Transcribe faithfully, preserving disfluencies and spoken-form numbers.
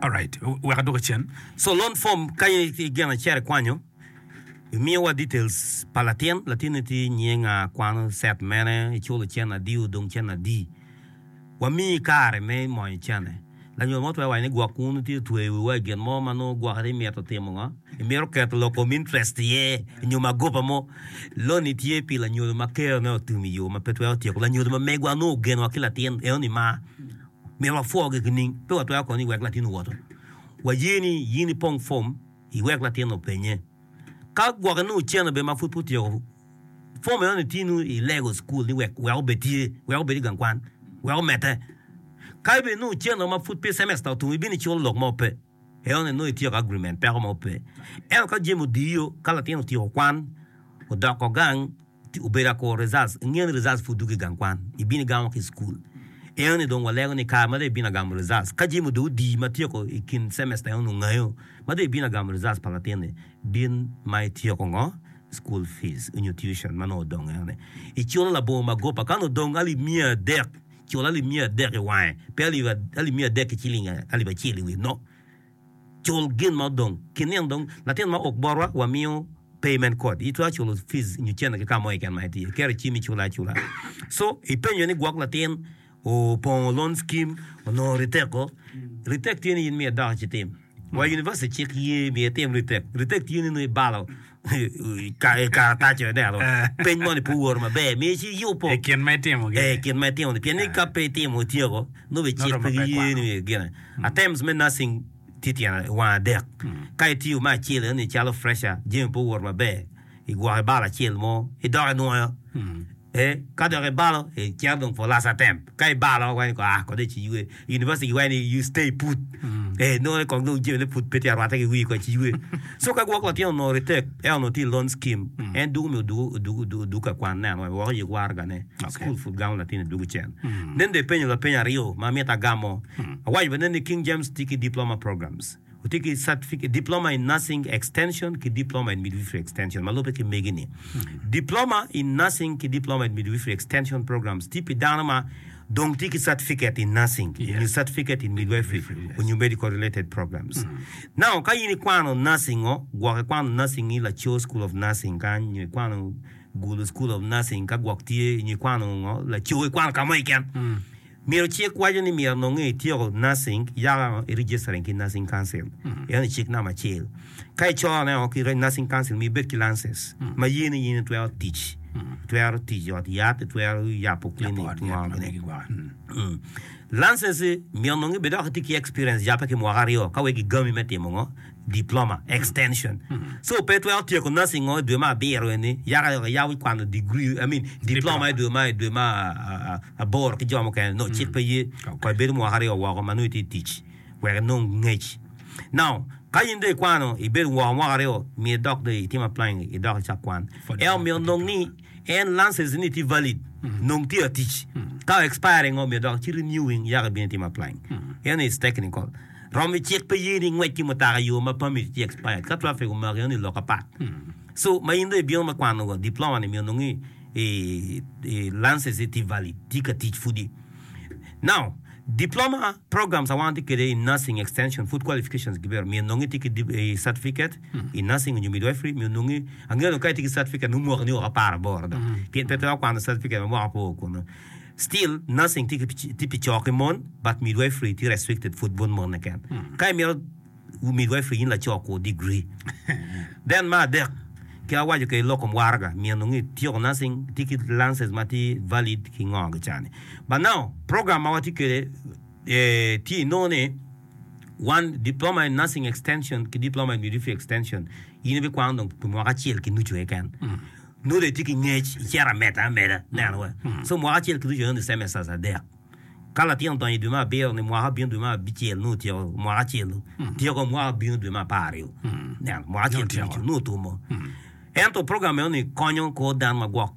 Alright, wek adwoki cen. So loan form ka in gin acel ikwanyo, imiyowa details pa latin, latin tye nyinge nga, kwano set mene, iculo cene adi, odong cene adi. Wamiyi kare me monyo cene. Lanyodo mo twero waco ni gwok wun tye otweyo wiwa i gin mo ma nongo gwoki imito timo ngo, imito keto lok kom interest iye nyo magoba mo. Loan tye pi lanyodo ma kerone otum i yo ma pe twero tyeko. Lanyodo ma megwa nongo ogenowa ki latin enoni ma myero wapwogi ki ning pe watwero kono ni wek latin owoto. Waye ni in ipong form iwek latin openye. Ka gwoki nongo cene bene ma pud pe otyeko form enoni tye nongo ilego school ni wek wek obed tye wek obed i gang kwan wek omedde. Ka bene nongo cene ma pud pe semester otum ibino iculo lok mo pe. Enoni nongo ityeko agreement peko mo pe. Ento ka jami odiyo ka latin otyeko kwan odoko gang obedo akuro results ingeyo ni results pud dwogo i gang kwan ibino igamo ki i school. Enoni dong walego ni kare ma dong ibino agamo results ka jami dong odi ma tyeko i kin semester enoni ongayo ma dong ibino agamo results pa latin-ni bin ma ityeko ngo school fees nyo tuition ma nongo odong enoni iculo labongo magoba ka nongo odong alip miya adek cul alip miya adek i wange pe alip miya adek ki ciling alip acel i wiye no cul gin ma odong ki nino dong latin ma ok botwa wamiyo payment code itwero culo fees nyo cene ki ka mo keken ma itye iketo i cim iculo acula so ipenyo ni gwok latin opongo loan scheme onongo retake retake tye ni in myero idok icitim wa university cik ye myero itim retake retake tye ni nongo ibalo i karatac ineno peny moni pe owoto maber myero ci iyubo I kin ma itimo i kin ma itimo ni pien ni ka pe itimo ityeko nongo bene cik pe giye ni gine attempts me nursing tye tyen wang adek ka itiyo me acel eni calo fresher jami pe owoto maber igwoko ibalo acel mo idok inwoyo eh ka dok ibalo icito dong for last attempt ka ibalo waco ni ah kong dong iciywe university giwaco ni you stay put eh nongo kong dong jamine pud pe tye arwatte ki wii kong iciywe so ka gwok latin onongo retake en onongo tye i loan scheme en dwogo myero odwog odwog ka kwan neno wek oyik waragane school pud gamo latin edwogo cen nen dong ipenyo lapeny aryo ma amito agamo awaco bene ni King James tye ki diploma programs otye ki certificate diploma in nursing extension ki diploma in midwifery extension ma lubbe ki megi ni diploma in nursing ki diploma in midwifery extension programs tye pi dano ma dong tye ki certificate in nursing nyo certificate in midwifery onyo medical related programs now ka in ikwano nursing o gwok ikwano nursing i Lacor school of nursing kany nyo ikwano Gulu school of nursing ka gwok tye nyo ikwano ngo Lacor ikwano ka mo keken myero cik waco ni myero nongo ityeko nursing yaka i registering ki nursing council eno cik namba acel ka icone o ki nursing council myero ibed ki license ma ye ni in itwero tic itwero tic i ot yat itwero yabo clinic ngo gini license myero nongo ibed dok itye ki experience yabe ki mwaka aryo ka wek gigami me timo ngo diploma extension so pe itwero tyeko nursing o i dwe me abiro eni yaka yabo kwano degree I mean diploma i dwe ma i dwe ma aboro ki jo mukene no cik pe ye ko ibedo mwaka aryo woko ma nongo itye i tic wek inong ngec now ka in dong ikwano ibedo woko mwaka aryo myero idok dong itim applying idok icak kwan ento myero onong ni en license ni tye valid nong tye atic ka expire ngo myero dok ci renewing yaka ibino itim applying eno is technical romi cik pe ye ni ingwec ki mutoka i yo ma permit tye expired ka traffic omaki eno ni lok apat so ma in dong ibino me kwano diploma ni myero nong i license tye valid tye ka tic pudi now diploma programs a wan tye kwede in nursing extension food qualifications gibedo myero nong itye ki certificate in nursing nyo midwifery myero nong angeyo ka itye ki certificate nongo mwakani woko apar aboro dok pien pe twero kwano certificate ma mwaka pe oo kunu still nursing tye pi co ki mon but midwifery tye restricted pud bot mon keken ka imito midwifery in laco kur degree then me adek ki awaco kede lok kom waraga myero nongo ityeko nursing itye ki license ma tye valid ki ngo ki cani but now program ma watye kwede tye inongo ni one diploma in nursing extension ki diploma in midwifery extension in ibikwano dong pi mwaka acel ki nucu keken nongo dong itye ki ngec icito ameda ameda ineno wa so mwaka acel ki nucu eno ni semesters adek ka latin odonyo i dwe me abiro ni mwaka bino dwe me abicel nongo otyeko mwaka acel tyeko mwaka bino dwe me apar aryo neno mwaka acel ki nucu nongo otumo ento program eno ni konyo kor dano ma gwok